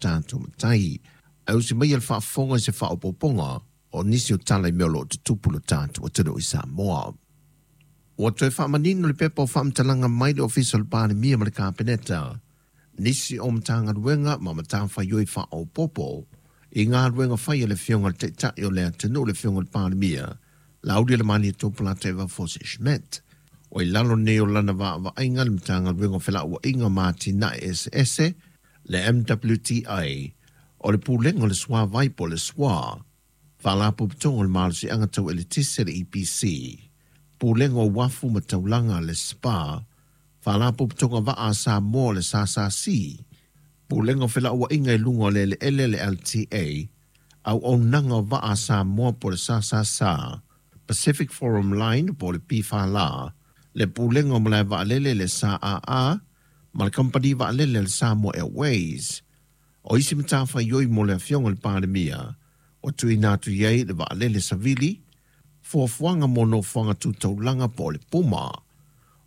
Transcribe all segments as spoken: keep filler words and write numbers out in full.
tatou matai. Ae usi maia le faafofoga i se faaopoopoga o nisi o tala i mea o lo o tutupu i lo tatou atunuu i Samoa. Ua toe faamanino le pepa o faamatalaga mai le Ofisa o le Palemia ma le Kapeneta, nisi o Matagaluega ma matafaioi faaopoopo i galuega fai a le Afioga i le Taitai o le atunuu, le Afioga i le Palemia, Laaulialemalietoa Polataivao Fosi Schmidt. O i lalo nei o lana vaavaaiga le Matagaluega o Felauaiga ma Atinae Eseese, le M W T A, o le Pulega o le Suavai po o le S W A, Faalapotopotoga o le Malosiaga Tau Eletise le E P C, Pulega o Uafu ma Taulaga le S P A, Faalapotopotoga Vaa a Samoa le S S C, Pulega o Felauaiga i luga o le Eleele le L T A, Auaunaga o Vaa a Samoa po o le S S S A, Pacific Forum Line po o le P F L A, le Pulega o Malae Vaalele le S A A, ma le Kamupani Vaalele le Samoa Airways. O isi matafaioi mo le Afioga i le Palemia, o tuuina atu i ai le vaalele savili, fuafuaga mo nofoaga tutaulaga po o le Puma.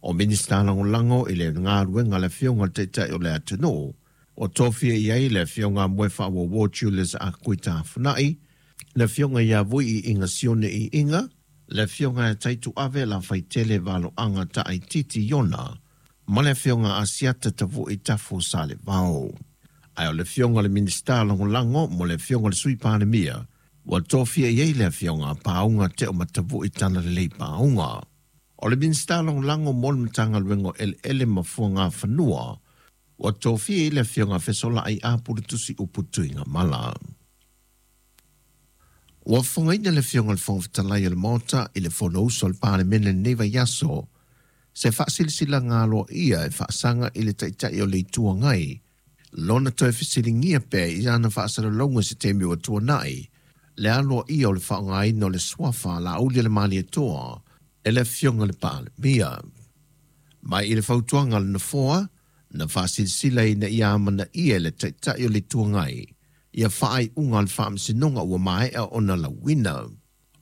O Minista lagolago i le galuega a le Afioga i le Taitai o le atunuu, o tofia i ai le Afioga Moe Faauauo Julius Akuita Funai, le Afioga ia Vui i Iga Sione i Iga, le Afioga ia Taituave Lafaitele Valoaga Taaititi Iona, ma le Afioga Asiata Tavui Tafu Salevao. Ae o le Afioga le Minista lagolago mo le Afioga le Sui Palemia, ua tofia i ai le Afioga Paauga Teo Matavui Talalelei Paauga. O le Minista lagolago mo le Matagaluega o Eleele ma Fuagafanua, ua tofia i le Afioga Fesolai Apulutusi Upu Tuigamala. Ua fofogaina le Afioga i le Fofoga Fetalai o le Maota i le Fonousu o le Palemene lenei vaiaso, se faasilasilaga aloaia e faasaga i le Taitai o le Itu Agai, lona toe fesiligia pea i ana faasalalauga i se taimi ua tuanai, le aloaia o le faaaogaina o le suafa Laaulialemalietoa e le Afioga i le Palemia. Mai i le fautuaga a le Nofoa, na faasilasila ina ia amanaia e le Taitai o le Itu Agai, ia faaiuga o le faamasinoga ua maea ona lauina.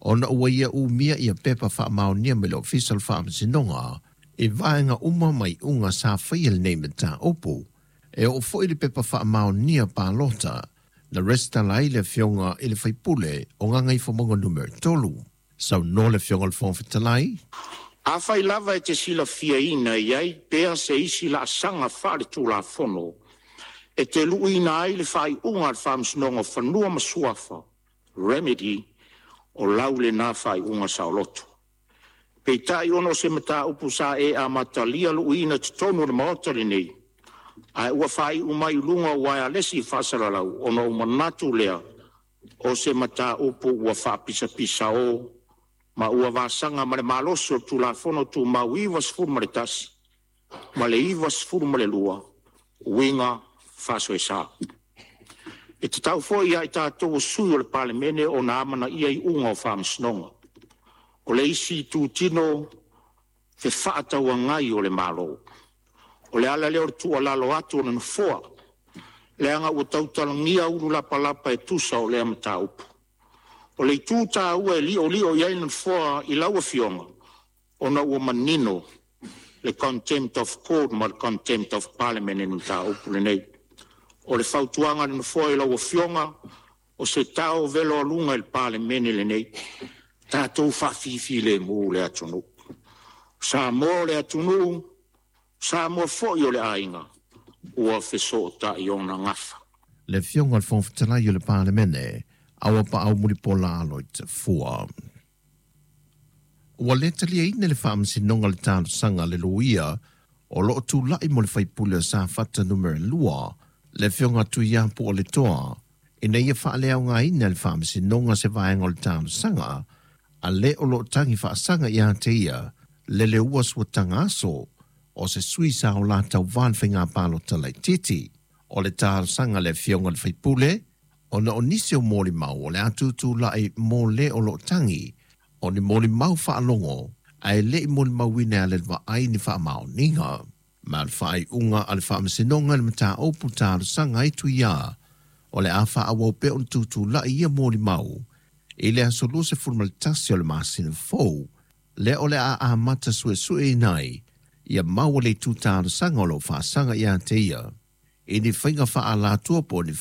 Ona ua ia umia ia pepa faamaonia mai le Ofisa o le Faamasinoga, i vaega uma mai uga sa faia lenei mataupu. E oo foi le pepa faamaonia palota, na resitala ai le Afioga i le Faipule o Gagaifomauga numera tolu. Saunoa le Afioga i le Fofoga Fetalai. Afai lava e te silafiaina i ai pea se isi laasaga faaletulafono e te luuina ai le faaiuga a le Faamasinoga o Fanua ma Suafa, remedy, o lau lena faaiuga saoloto. Peitai ona o se mataupu sa e amatalia luuina totonu o le Maota lenei, ae ua faaiu mai i luga o uaealesi faasalalau ona o manatu lea o se mataupu ua faapisapisao ma ua vasaga ma le malosi o le Tulafono Tumau iva sefulu ma le tasi ma le iva sefulu ma le lua uiga faasoesa. E tatau foi ia i tatou o sui o le Palemene ona amanaia iuga o faamasinoga. O le isi itutino fefaatauagai o le Malo. O le ala lea o le tuualalo atu o le Nofoa, leaga ua tautalagia ulu lapalapa e tusa o lea mataupu. O le itu taua e liolio i ai le Nofoa i lau Afioga, ona ua manino le contempt of court ma le contempt of parliament i le mataupu lenei. O le fautuaga a le Nofoa i lau Afioga, o se tao velo aluga i le Palemene lenei, tatou faafifilemu le atunuu. Samoa o le atunuu, Samoa foi o le aiga, ua fesootai ona gafa. Le Afioga i le Fofoga Fetalai o le Palemene, Auapaau Mulipola Aloitafua. Ua le taliaina le faamasinoga le talosaga a le loia o loo tulai mo le faipule o Safata numera lua, le Afioga Tuiapu o le Toa, ina ia faaleaogaina le faamasinoga se vaega o le talosaga, a le o loo tagi faasaga ia te ia, le leua suataga aso, o se sui sa o la tauvā le faiga palota laitiiti. O le talosaga a le Afioga i le faipule, ona o nisi o molimau o le atutulai mo le o loo tagi, o ni molimau faalogo, ae le i molimauina e le vaai ni faamaoniga. Ma le faaiuga a le faamasinoga i le mataupu talosaga ai Tuia, o le a faaauau pea ona tutulai ia molimau, i le aso luasefulu ma le tasi o le masina fou, lea o le a amata suesueina ai, ia maua le itu talosaga o loo faasaga ia te ia, i ni faiga faalatua po o ni faiga